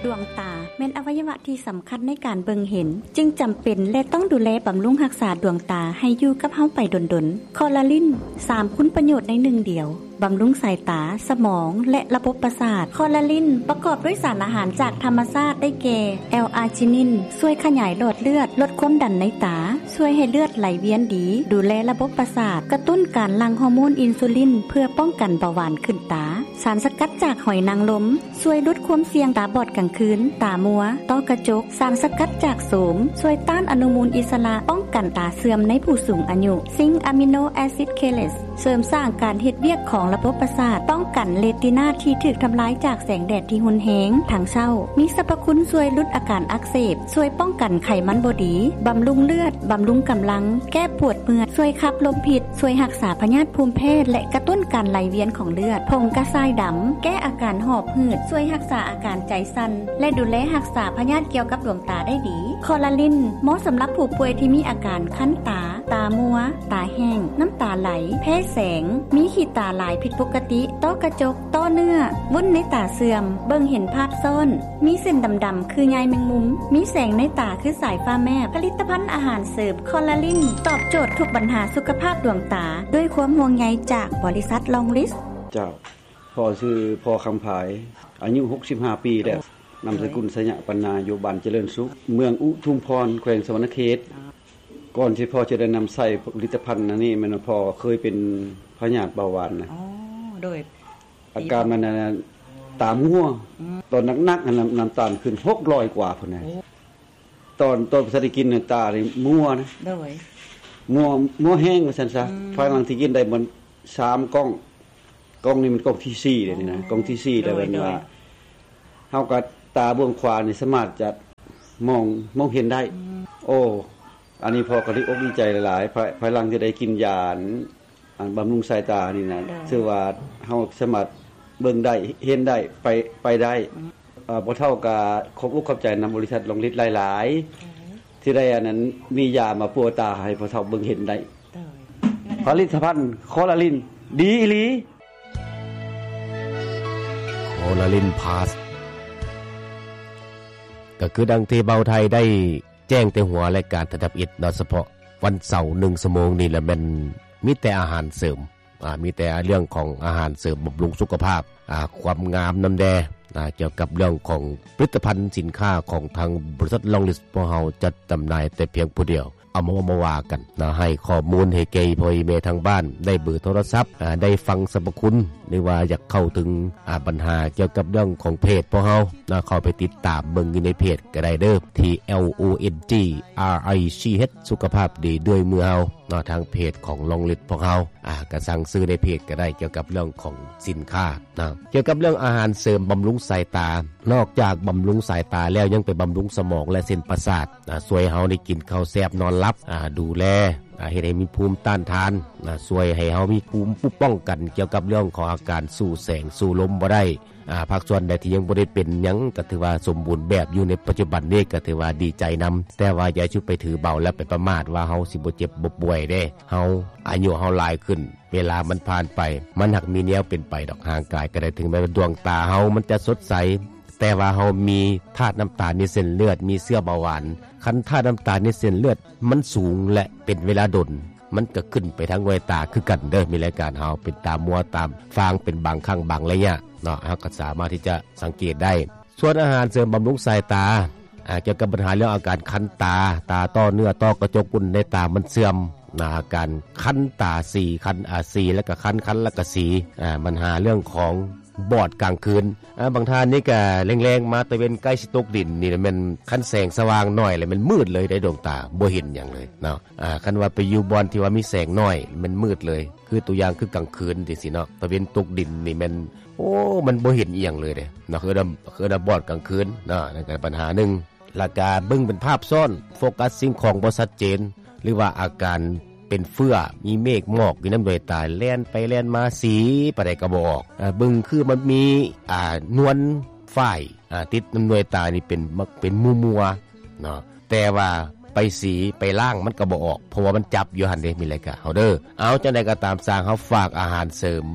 ດວງຕາແມ່ນອະໄວຍະວະທີ່ສຳຄັນໃນການເບິ່ງເຫັນ, ຈຶ່ງຈຳເປັນ ແລະ ຕ້ອງດູແລບຳລຸງຮັກສາດວງຕາໃຫ້ຢູ່ກັບເຮົາໄປດົນໆ. ຄໍລາລິນ ສາມຄຸນປະໂຫຍດໃນໜຶ່ງດຽວ, ບຳລຸງສາຍຕາ, ສະໝອງ ແລະ ລະບົບປະສາດ. ຄໍລາລິນປະກອບດ້ວຍສານອາຫານຈາກທຳມະຊາດ ໄດ້ແກ່ ແອລອາຈິນິນ ຊ່ວຍຂະຫຍາຍຫຼອດເລືອດ, ລົດຄວາມດັນໃນຕາ, ຊ່ວຍໃຫ້ເລືອດໄຫຼວຽນດີ, ດູແລລະບົບປະສາດ, ກະຕຸ້ນການຫຼັ່ງຮໍໂມນອິນຊູລິນ ເພື່ອປ້ອງກັນເບົາຫວານຂຶ້ນຕາ. ສານສະກັດຈາກຫອຍນາງລົມ ຊ່ວຍຫຼຸດຄວາມສ່ຽງຕາບອດກາງຄືນ, ຕາມົວ, ຕ້ອກະຈົກ. ສານສະກັດຈາກໂສມ ຊ່ວຍຕ້ານອະນຸມູນອິດສະຫຼະ, ປ້ອງກັນຕາເສື່ອມໃນຜູ້ສູງອາຍຸ. ຊິງອາມິໂນແອຊິດເຄເລດ ເສີມສ້າງການເຮັດວຽກຂອງລະບົບປະສາດ, ປ້ອງກັນເຣຕີນາທີ່ຖືກທຳລາຍຈາກແສງແດດທີ່ຮຸນແຮງທັງເຊົ້າ. ມີສັບພະຄຸນຊ່ວຍຫຼຸດອາການອັກເສບ, ຊ່ວຍປ້ອງກັນໄຂມັນບໍ່ດີ, ບຳລຸງເລືອດ, ບຳລຸງກຳລັງ, ແກ້ປວດເມື່ອຍ, ຊ່ວຍຂັບລົມພິດ, ຊ່ວຍຮັກສາພະຍາດພູມແພ້ ແລະ ກະຕຸ້ນການໄຫຼວຽນຂອງເລືອດ. ຜົງກະຊາຍດຳ ແກ້ອາການຫອບຫືດ, ຊ່ວຍຮັກສາອາການໃຈສັ່ນ ແລະ ດູແລຮັກສາພະຍາດກ່ຽວກັບດວງຕາໄດ້ດີ. ຄໍລາລິນ ເໝາະສຳລັບຜູ້ປ່ວຍທີ່ມີອາການຄັນຕາ, ຕາມົວ, ຕາແຫ້ງ, ນ້ຳຕາໄຫຼ, ແພ້ແສງ, ມີຂີ້ຕາຫຼາຍຜິດປົກກະຕິ, ຕ້ອກະຈົກ, ຕ້ອເນື້ອ, ວຸ້ນໃນຕາເສື່ອມ, ເບິ່ງເຫັນພາບຊ້ອນ, ມີເສັ້ນດຳໆຄືໃຍແມງມຸມ, ມີແສງໃນຕາຄືສາຍຟ້າແມບ. ຜະລິດຕະພັນອາຫານເສີມຄໍລາລິນ ຕອບໂຈດທຸກບັນຫາສຸຂະພາບດວງຕາ ດ້ວຍຄວາມຫ່ວງໃຍຈາກບໍລິສັດລອງລິດ. ເຈົ້າ. ພໍ່ຊື່ພໍ່ຄຳພາຍ ອາຍຸຫົກສິບຫ້າປີແລ້ວ, ນາມສະກຸນ ໄຊຍະປັນນາ, ຢູ່ບ້ານຈະເລີນສຸກ, ເມືອງອຸທຸມພອນ, ແຂວງສະຫວັນນະເຂດ. ກ່ອນທີ່ພໍ່ຈະໄດ້ນຳໃຊ້ຜະລິດຕະພັນອັນນີ້ ແມ່ນວ່າພໍ່ເຄີຍເປັນພະຍາດເບົາຫວານນະ. ອໍ ໂດຍ. ອາການມັນນັ້ນ ຕາມົວ, ອືມ ຕອນໜັກໆ ນັ້ນ ນ້ຳຕານຂຶ້ນຫົກຮ້ອຍກວ່າພຸ້ນນະ. ໂອ້ ຕອນ ຕອນບໍ່ທັນໄດ້ກິນນັ້ນ ຕານີ້ມົວນະ. ໂດຍ. ມົວ ມົວແຮງວ່າຊັ້ນຊະ. ອືມ ພາຍຫຼັງທີ່ກິນໄດ້ມັນສາມກ່ອງ, ກ່ອງນີ້ມັນກ່ອງທີສີ່ແລ້ວນີ້ນະ. ອໍ ກ່ອງທີສີ່ແລ້ວ. ໂດຍ ເພິ່ນວ່າ ໂດຍ ເຮົາກໍຕາເບື້ອງຂວານີ້ສາມາດຈະມອງ ມອງເຫັນໄດ້. ອືມ ໂອ້ ອັນນີ້ພໍ່ກໍດີອົກດີໃຈຫຼາຍໆ ພາຍ ພາຍຫຼັງທີ່ໄດ້ກິນຢາອັນ ອັນບຳລຸງສາຍຕານີ້ນະ. ໂດຍ. ຖືວ່າເຮົາສາມາດເບິ່ງໄດ້ ເຫັນໄດ້ ໄປ ໄປໄດ້. ອືມ ເອີ ພໍ່ເຖົ້າກໍຂອບອົກຂອບໃຈນຳບໍລິສັດລອງລິດຫຼາຍໆ. ໂດຍ. ທີ່ໄດ້ອັນນັ້ນ ມີຢາມາປົວຕາໃຫ້ພໍ່ເຖົ້າເບິ່ງເຫັນໄດ້. ໂດຍ. ຜະລິດຕະພັນຄໍລາລິນ ດີອີ່ຫຼີ. ຄໍລາລິນພລັສ ກໍຄືດັ່ງທີ່ເບົາໄທໄດ້ແຈ້ງແຕ່ຫົວລາຍການທຳອິດເນາະ, ສະເພາະວັນເສົາໜຶ່ງຊົ່ວໂມງນີ້ລະແມ່ນມີແຕ່ອາຫານເສີມ, ອາ ມີແຕ່ເລື່ອງຂອງອາຫານເສີມບຳລຸງສຸຂະພາບ, ອາ ຄວາມງາມນຳແດ່, ອາ ກ່ຽວກັບເລື່ອງຂອງຜະລິດຕະພັນສິນຄ້າຂອງທາງບໍລິສັດລອງລິດພວກເຮົາຈັດຈຳໜ່າຍແຕ່ພຽງຜູ້ດຽວ. ເອົາມາເວົ້າມາວ່າກັນເນາະ, ໃຫ້ຂໍ້ມູນໃຫ້ແກ່ພໍ່ແມ່ທາງບ້ານ ໄດ້ເບີໂທລະສັບ, ອາ ໄດ້ຟັງສັບພະຄຸນ ຫຼືວ່າຢາກເຂົ້າເຖິງ ອາ ບັນຫາກ່ຽວກັບເລື່ອງຂອງເພຈພວກເຮົາເນາະ, ເຂົ້າໄປຕິດຕາມເບິ່ງຢູ່ໃນເພຈກໍໄດ້ເດີ້ ທີ່ L O N G R I C H ສຸຂະພາບດີດ້ວຍມືເຮົາເນາະ, ທາງເພຈຂອງລອງລິດພວກເຮົາ. ອາ ກໍສັ່ງຊື້ໃນເພຈກໍໄດ້ ກ່ຽວກັບເລື່ອງຂອງສິນຄ້າເນາະ. ກ່ຽວກັບເລື່ອງອາຫານເສີມບຳລຸງສາຍຕາ, ນອກຈາກບຳລຸງສາຍຕາແລ້ວ ຍັງໄປບຳລຸງສະໝອງ ແລະ ເສັ້ນປະສາດ. ອາ ຊ່ວຍເຮົາໄດ້ກິນເຂົ້າແຊບນອນຫຼັບ, ອາ ດູແລ, ອາ ເຮັດໃຫ້ມີພູມຕ້ານທານ, ອາ ຊ່ວຍໃຫ້ເຮົາມີພູມປ້ອງກັນກ່ຽວກັບເລື່ອງຂອງອາການສູ້ແສງສູ້ລົມບໍ່ໄດ້. ອາ ພາກສ່ວນໃດທີ່ຍັງບໍ່ໄດ້ເປັນຫຍັງ ກໍຖືວ່າສົມບູນແບບຢູ່ໃນປັດຈຸບັນນີ້ ກໍຖືວ່າດີໃຈນຳ, ແຕ່ວ່າຢ່າຊຸດໄປຖືເບົາ ແລະ ໄປປະໝາດວ່າເຮົາຊິບໍ່ເຈັບບໍ່ປ່ວຍເດ້. ເຮົາ ອາຍຸເຮົາຫຼາຍຂຶ້ນ, ເວລາມັນຜ່ານໄປ, ມັນຫາກມີແນວເປັນໄປດອກ. ຮ່າງກາຍກໍໄດ້, ເຖິງແມ່ນວ່າດວງຕາເຮົາມັນຈະສົດໃສ, ແຕ່ວ່າເຮົາມີທາດນ້ຳຕານໃນເສັ້ນເລືອດ, ມີເຊື້ອເບົາຫວານ. ຄັນທາດນ້ຳຕານໃນເສັ້ນເລືອດມັນສູງ ແລະ ເປັນເວລາດົນ, ມັນກໍຂຶ້ນໄປທາງດວງຕາຄືກັນເດີ້. ມີລາຍການເຮົາເປັນຕາມົວ, ຕາຟາງເປັນບາງຄັ້ງບາງໄລຍະເນາະ, ເຮົາກໍສາມາດທີ່ຈະສັງເກດໄດ້. ສ່ວນອາຫານເສີມບຳລຸງສາຍຕາ, ອາ, ກ່ຽວກັບບັນຫາເລື່ອງອາການຄັນຕາ, ຕາຕ້ອເນື້ອ, ຕ້ອກະຈົກ, ກຸ້ນໃນຕາມັນເສື່ອມ, ອາ, ອາການຄັນຕາ, ສີຄັນ, ອາ, ສີແລ້ວກໍຄັນ, ຄັນແລ້ວກໍສີ, ອາ, ບັນຫາເລື່ອງຂອງບອດກາງຄືນ, ອາ, ບາງທ່ານນີ້ກໍແລງໆມາ, ຕາເວັນໃກ້ຊິຕົກດິນນີ້ແມ່ນ ຄັນແສງສະຫວ່າງໜ້ອຍແລ້ວແມ່ນມືດເລີຍເດ້, ດວງຕາບໍ່ເຫັນຫຍັງເລີຍເນາະ. ອາ, ຄັນວ່າໄປຢູ່ບ່ອນທີ່ວ່າມີແສງໜ້ອຍ ແມ່ນມືດເລີຍ, ຄືຕົວຢ່າງຄືກາງຄືນຈັ່ງຊີ້ເນາະ, ຕາເວັນຕົກດິນນີ້ແມ່ນ ໂອ້ ມັນບໍ່ເຫັນອີ່ຫຍັງເລີຍເດ້ເນາະ, ເອີ້ນວ່າ ເອີ້ນວ່າບອດກາງຄືນເນາະ, ນັ້ນກໍບັນຫາໜຶ່ງ. ແລ້ວກະເບິ່ງເປັນພາບຊ້ອນ, ໂຟກັສສິ່ງຂອງບໍ່ຊັດເຈນ ຫຼືວ່າອາການເປັນເຟື້ອ, ມີເມກໝອກຢູ່ນຳດວງຕາ, ແລ່ນໄປແລ່ນມາ, ສີປານໃດກໍບໍ່ອອກ. ເບິ່ງຄືມັນມີ ອ່າ ນວນຝ້າຍ ອ່າ ຕິດນຳດວງຕານີ້ເປັນ ເປັນມົວໆເນາະ, ແຕ່ວ່າໄປສີໄປລ້າງມັນກໍບໍ່ອອກ, ເພາະວ່າມັນຈັບຢູ່ຫັ້ນເດ້, ມີລາຍການເຮົາເດີ້. ເອົາ ຈັ່ງໃດກໍຕາມຊ່າງ, ເຮົາຝາກອາຫານເສີມ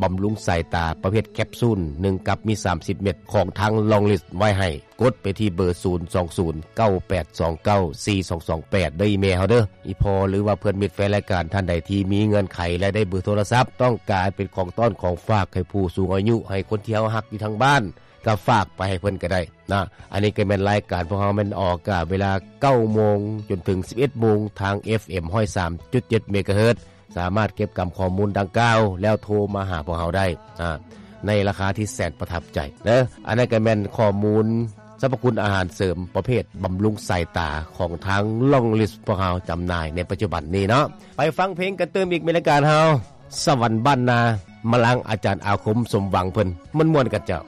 ບຳລຸງສາຍຕາ ປະເພດແຄບຊູນ ໜຶ່ງກັບມີສາມສິບເມັດ ຂອງທາງ Longlis ໄວ້ໃຫ້. ກົດໄປທີ່ເບີ ສູນສອງສູນ ເກົ້າແປດສອງເກົ້າ ສີ່ສອງສອງແປດ ເດີອີເມລເຮົາເດີ. ອີ່ພໍ່ ຫຼືວ່າເພື່ອນມິດແຟນລາຍການທ່ານໃດທີ່ມີເງື່ອນໄຂ ແລະ ໄດ້ເບີໂທລະສັບ ຕ້ອງການເປັນຂອງຕ້ອນຂອງຝາກໃຫ້ຜູ້ສູງອາຍຸ ໃຫ້ຄົນທີ່ເຮົາຮັກຢູ່ທາງບ້ານ ກໍຝາກໄປໃຫ້ເພິ່ນກໍໄດ້ນະ. ອັນນີ້ກໍແມ່ນລາຍການພວກເຮົາແມ່ນອອກອາກາດເວລາເກົ້າໂມງຈົນເຖິງສິບເອັດໂມງ ທາງ ເອັຟເອັມ ຮ້ອຍສາມຈຸດເຈັດ ເມກາເຮີດ. ສາມາດເກັບກຳຂໍ້ມູນດັ່ງກ່າວ ແລ້ວໂທມາຫາພວກເຮົາໄດ້ ອາ ໃນລາຄາທີ່ແສນປະທັບໃຈເດີ. ອັນນັ້ນກໍແມ່ນຂໍ້ມູນສັບພະຄຸນອາຫານເສີມປະເພດບຳລຸງສາຍຕາ ຂອງທາງ Longlis ພວກເຮົາຈຳໜ່າຍໃນປັດຈຸບັນນີ້ເນາະ. ໄປຟັງເພງກັນຕື່ມອີກ ມີລາຍການເຮົາ ສະຫວັນບ້ານນາ ມາລັງອາຈານອາຄົມ ສົມຫວັງ ເພິ່ນມ່ວນໆກັນເຈົ້າ.